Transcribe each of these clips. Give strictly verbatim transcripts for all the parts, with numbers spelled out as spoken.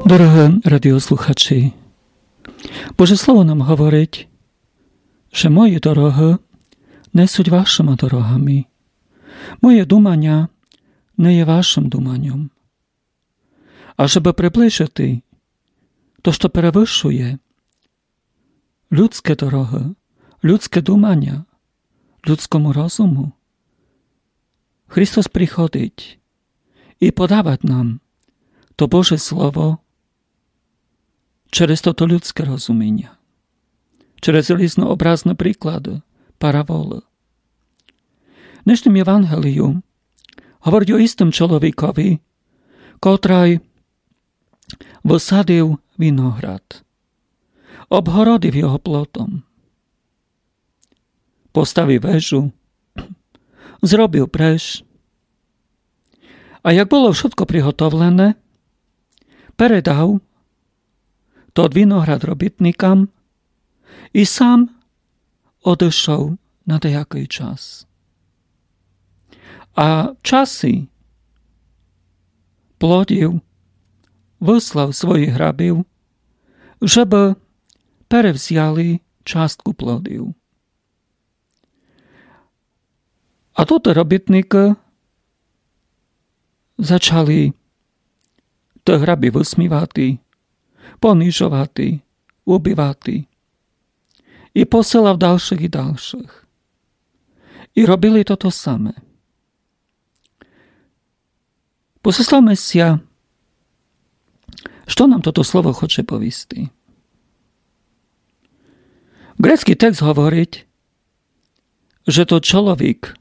Дорогы радіослухачі, Боже Слово нам говорить, же мої дорогы не суть вашыма дорогами, моє думаня не є вашым думаньом. А жебы приближыти то, што перевышує людскы дорогы, людскы думаня, людскому розуму, Христос приходить і подавать нам то Боже Слово через тото людскы розуміня, через різнообразны приклады, параболы. В днешным Євангелію говорить о істым чоловікові, котрый высадив виноград, обгородив його плотом, поставив вежу, зробив бреш. А як было вшытко приготовлене, передав тот виноград робітникам і сам одышов на деякый час. А в часі плодів выслав своїх рабів, жебы перевзяли частку плодів. А тоты робітникы зачали тых рабів высмівати, понижовати, убивати. І посылав далшых і далшых. І робили тото саме. Позаставме ся, што нам тото слово хоче повісти. Грецькый текст говорить, же тот чоловік,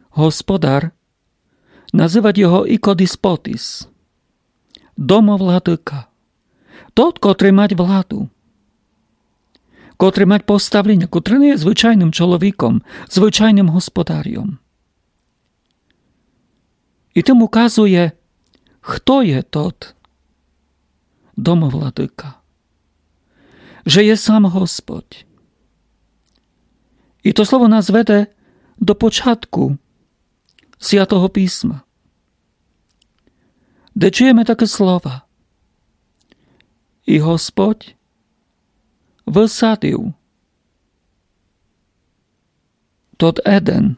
господар, называть його ікодіспотіс, домовладыка, тот, котрый мать владу, котрый мать поставленя, котрый не є звычайным чоловіком, звычайным господарьом. І тым указує, хто є тот домовладыка, же є сам Господь. І то слово нас веде до початку Святого Писма, де чуєме такы слова: І Господь высадив тот Еден,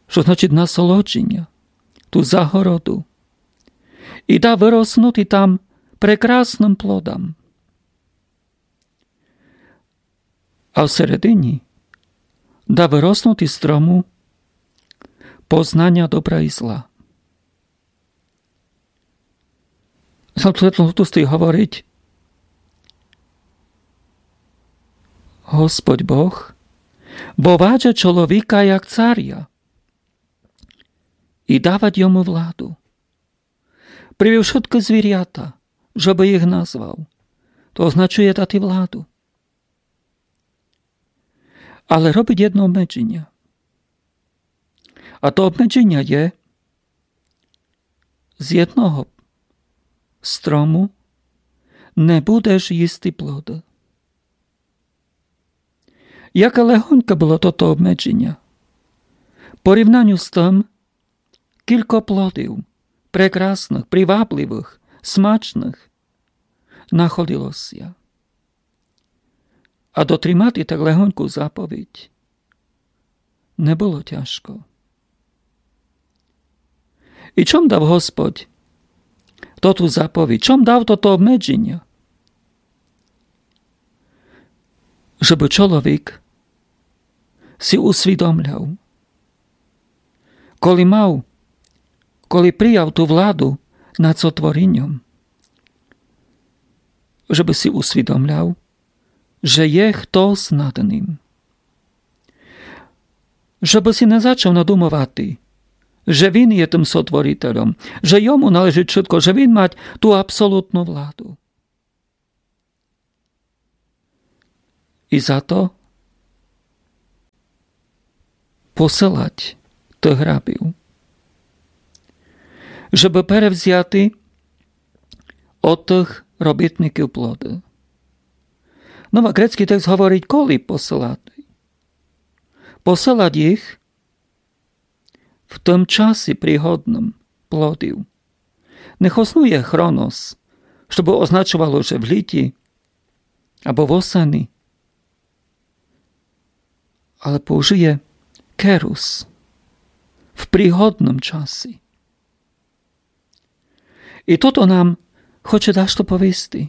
што значить насолодженя, ту загороду, і дав выроснути там прекрасным плодам. А в середині дав выроснути строму познаня добра і зла. Сам тот текст говорить: Господь Бог вовадже чоловіка як царя і давать йому владу. Привів вшыткы звірята, жебы їх назвав. То означує дати владу. Але робить єдно обмедженя. А то обмедженя є: з єдного строму не будеш їсти плоды. Яке легоньке было тото обмедженя в порівнаню з тым, кілько плодів, прекрасных, привабливых, смачных, находило ся. А дотримати так легоньку заповідь не было тяжко. І чом дав Господь тоту заповідь? Чом дав тото обмедженя? Жебы чоловік си усвідомляв, коли мав, коли прияв ту владу над сотворіньом, жебы си усвідомляв, же є хтось над ним. Жебы си не зачав надумовати, же він є тым сотворителем, же йому належить вшытко, же він мать ту абсолютну владу. І за то посылать тых рабів, жебы перевзяти од тых робітників плоды. Но а грецькый текст говорить, коли посылати. Посылать їх в тым часі пригодным плодів. не хоснує хронос, што бы означовало, же в літі або в осени, але поужыє керус, в пригодным часі. І тото нам хоче дашто повісти,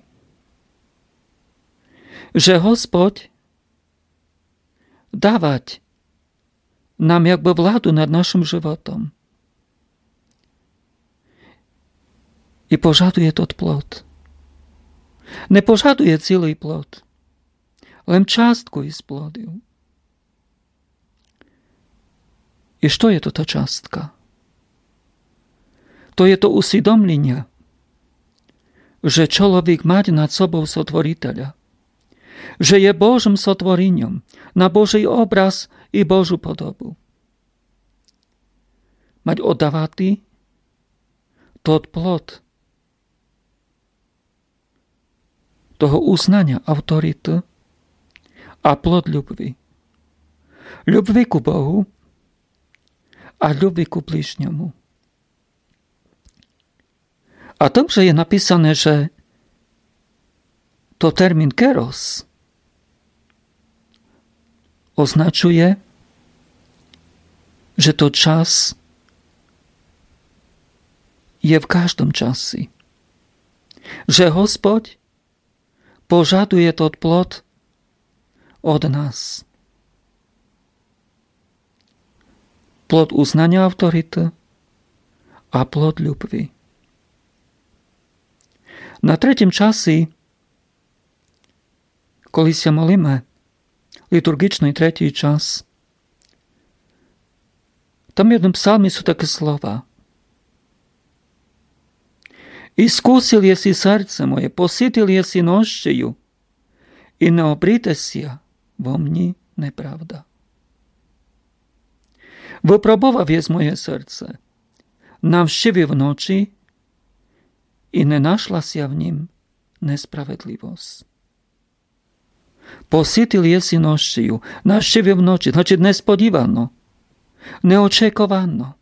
же Господь давать нам якбы владу над нашым животом. І пожадує тот плод. Не пожадує цілый плод, лем частку из плодів. І што є то та частка? То є то усвідомліня, же чоловік мать над собов Сотворителя, же є Божым сотворіньом на Божый образ і Божу подобу. Мать оддавати тот плод того узнаня авторіты а плод любви. Любви ку Богу а любви ку ближньому. А там же є написане, же то термін керос означує, же то час є в каждым часі, же Господь пожадує тот плод од нас. Плод узнаня авторіты а плод любви. На третім часі, коли ся молиме, літурґічный третій час, там в єдным псалмі суть такы слова: „Искусил єси серце моє, поситил єси нощею, и не обрите ся во мнї неправда. Выпробовав єс моє серце, навщивив ночи, и не нашла ся в нїм несправедливосц.“ Поситил єси нощею, навщивив ночи, значить, несподівано, неочековано.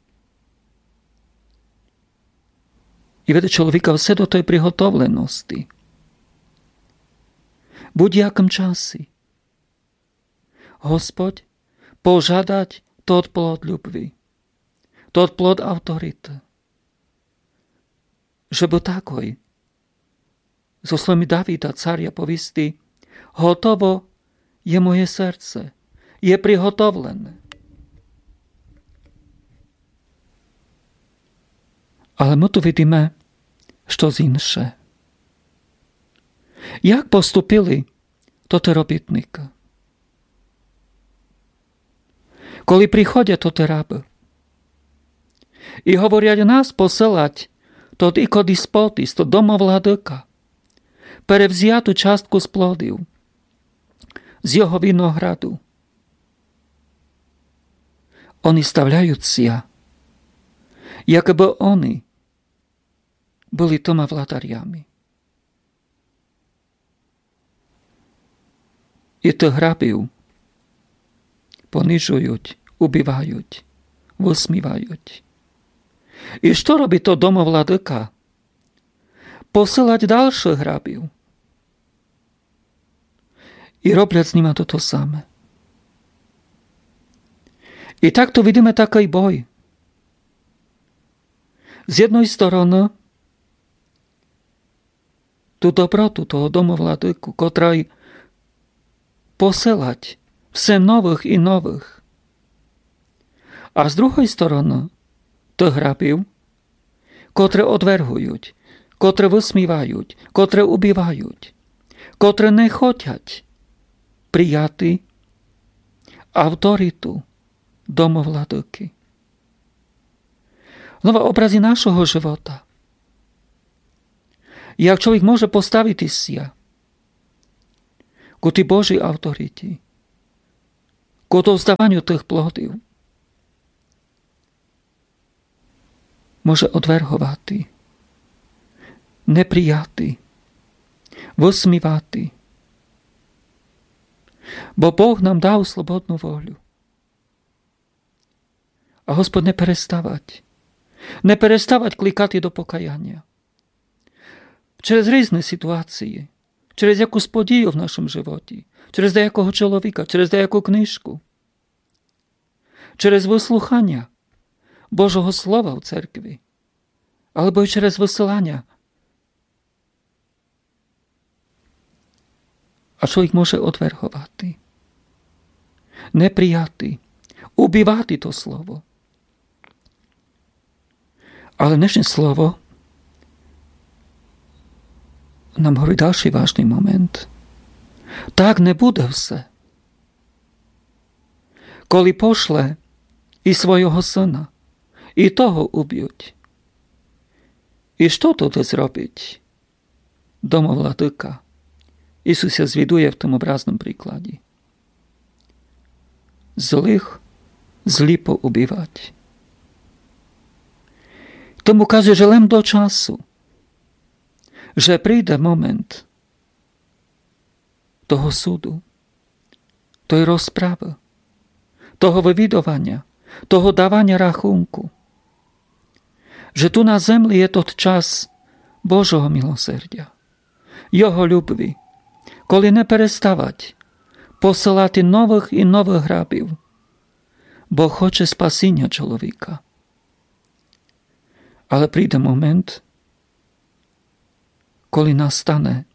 И веде чоловіка все до той приготовлености. Будь-якым часі Господь пожадать тот плод любви, тот плод авторіты, жебы такой, зо словами Давида, царя, повісти: „Готово є моє серце, є приготовлене.“ Але мы ту видиме штось інше. Як поступили тоты робітникы? Коли приходять тоты рабы и говорять: „Нас посылать тот ікодіспот, тот домовладыка, перевзяти частку з плодів з його винограду“, они ставляють ся, якбы они были тыма владарями. И тых рабів понижують, убивають, высмівають. И што робить тот домовладыка? Посылать дальшых рабів. И роблять з нима тото саме. И так ту видиме такый бой. З єдной стороны, ту доброту того домовладыку, котрый посылать все новых и новых. А з другой стороны, тых рабів, котры одвергують, котры высмівають, котры убивають, котры не хотять прияти авторіту домовладыкы. Знова образ и нашого живота. Як чоловік може поставити ся ку тій Божій авторіті, ку довздаваню тых плодів, може одверговати, не прияти, высмівати. Бо Бог нам дав слободну волю. А Господь не переставать, не переставать кликати до покаяня. через різні ситуації, через якусь подію в нашому животі, через деякого чоловіка, через деяку книжку, через выслуханя Божого Слова в церкви, або й через высыланя. А чоловік може одверговати, не прияти, убивати то слово. Але днешнє слово нам говорить дальшый важный момент. Так не буде все. Коли пошле і свойого сына, і того убють. І што тоды зробить домовладыка? Ісус ся звідує в тому образному прикладі. Злых злі поубивать. Тому указує, же лем до часу, же прийде момент того суду, той розправы, того вывідованя, того даваня рахунку, же ту на земли є тот час Божого милосердя, Його любви, коли не переставать посылати новых і новых грабів, бо хоче спасіня чоловіка. Але прийде момент, коли настане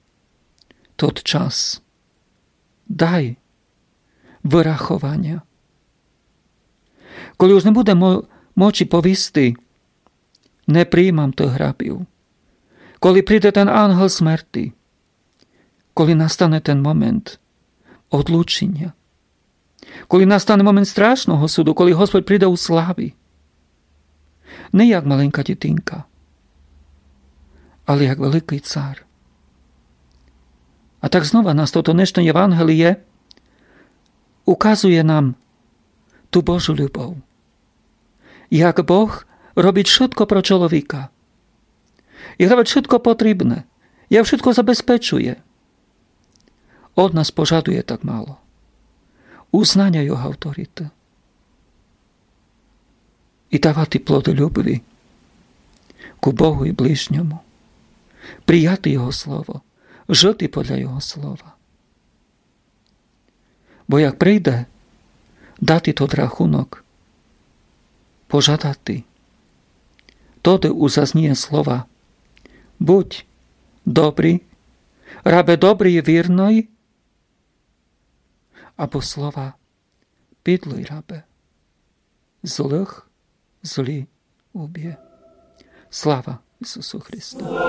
тот час, дай вырахованя. Коли уж не буде мо-, мочи повісти: „Не приймам тых грабів“, коли прийде тен ангел смерти, коли настане тен момент одлучіня, коли настане момент страшного суду, коли Господь прийде у славі, не як маленька дітинка, але як великый цар. А так знова нас тото днешне Євангеліє указує нам ту Божу любов. Як Бог робить вшытко про чоловіка. І робить вшытко потрібне. Як вшытко забезпечує. Од нас пожадує так мало. Узнаня Його авториты. І давати плоды любви ку Богу і ближньому. Прияти Його слово. Жыти подля Його слова. Бо як прийде дати тот рахунок, пожадати, тоды уж зазніє слова: „Будь добрый, рабе добрый і вірный“, або слова: „Підлый рабе, злых злі убє“. Слава Ісусу Христу!